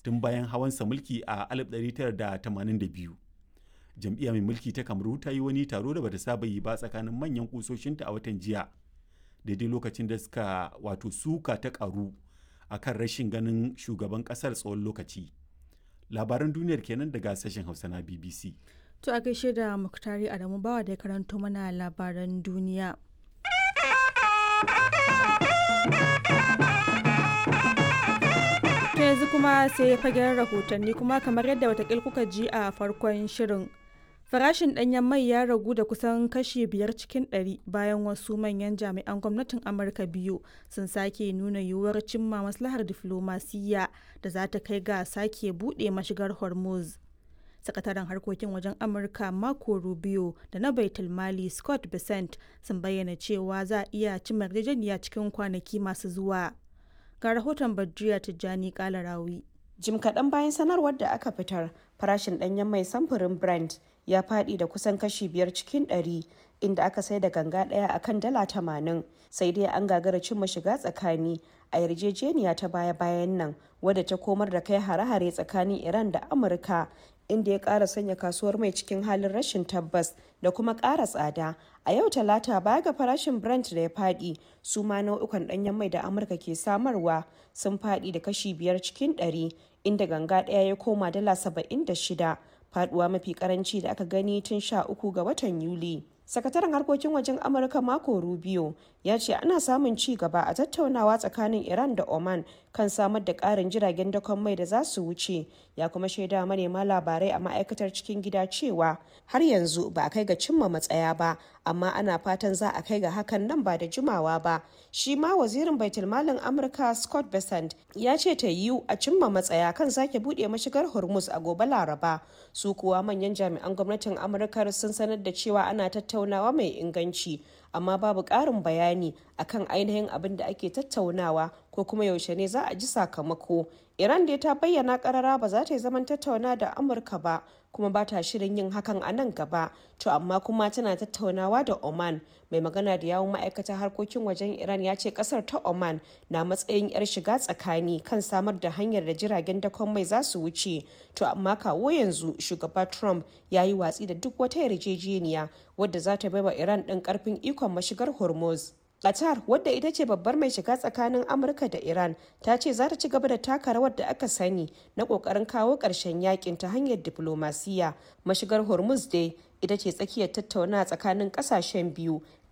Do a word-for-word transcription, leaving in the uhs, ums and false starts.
Tun bayan hawansa mulki a alif ɗari tara da tamanin da biyu, jam'iyya mai mulki ta Kamaru ta yi wani taro da bata saba yi ba tsakanin manyan kusoshinta a watan jiya, daidai lokacin da suka wato suka ta karu a kan rashin ganin shugaban kasar tsawon lokaci. Labaran duniyar kenan daga sashen Hausa na B B C. To, a gaishe da Muktari Adamu Bawa da ya karanto mana labaran duniya. To, yanzu kuma sai fagen rahotanni. Kuma kamar yadda watakil kuka ji a farkon shirin, farashin ɗanyen mai ya ragu da kusan kashi biyar cikin ɗari bayan wasu manyan jami'an gwamnatin Amurka biyu sun sake nuna yiwuwar cimma maslahar diflomasiyya da za ta kai ga sake buɗe mashigar Hormuz. Sakataren harkokin wajen Amurka Marco Rubio da na Baitul Mali Scott Bessent sun bayyana cewa za a iya cimma yarjejeniya cikin kwanaki masu zuwa. Ga rahoton Badriya Tijjani Kalarawi. Jim kaɗan bayan sanarwar da aka fitar, farashin ɗanyen mai samfurin Brent ya faɗi da kusan kashi biyar cikin ɗari, inda aka sai da ganga ɗaya a kan dala tamanin. Sai dai an gagara cimma shiga tsakani a yarjejeniya ta baya-bayan nan wadda ta komar da kai hare-hare tsakanin Iran da Amurka, inda ya ƙara sanya kasuwar mai cikin halin rashin tabbas da kuma ƙara tsada. A yau Talata, baya ga farashin Brent da ya faɗi, su ma nau'ukan ɗanyen mai da Amurka ke samarwa sun faɗi da kashi biyar cikin ɗari, inda ganga ɗaya ya koma dala saba'in da shida, faɗuwa mafi karanci da aka gani tun sha uku ga watan Yuli. Sakataren harkokin wajen Amurka Marco Rubio ya ce ana samun ci gaba a tattaunawa tsakanin Iran da Oman kan samar da karin jiragen dakon mai da za su wuce. Ya kuma shaida manema labarai a ma'aikatar cikin gida cewa har yanzu ba a kai ga cimma matsaya ba, amma ana fatan za a kai ga hakan nan ba da jimawa ba. Shi ma wazirin baitulmalin Amurka Scott Bessent ya ce ta yiwu a cimma matsaya kan sake buɗe mashigar Hormuz a gobe Laraba. Su kuwa manyan jami'an gwamnatin Amurka sun sanar da cewa ana tattaunawa mai inganci, amma babu ƙarin bayani akan ainihin abin da ake tattaunawa ko kuma yaushe ne za a ji sakamako. Iran dai ta bayyana karara ba za ta yi zaman tattauna da Amurka ba, kuma ba ta shirin yin hakan a nan gaba. To amma kuma tana tattaunawa da Oman. Mai magana da yawun ma'aikatar harkokin wajen Iran ya ce kasar ta Oman na matsayin yar shiga tsakani kan samar da hanyar da jiragen dakon mai za su wuce. To amma kawo yanzu shugaba Trump ya yi watsi da duk wata yarjejeniya wadda za ta baiwa Iran ɗin karfin ikon mashigar Hormuz. Qatar, wadda ita ce babbar mai shiga tsakanin Amurka da Iran, ta ce za ta ci gaba da taka rawar da aka sani na kokarin kawo ƙarshen yakin ta hanyar diplomasiya. Mashigar Hormuz dai ita ce tsakiyar tattauna tsakanin ƙasashen biyu.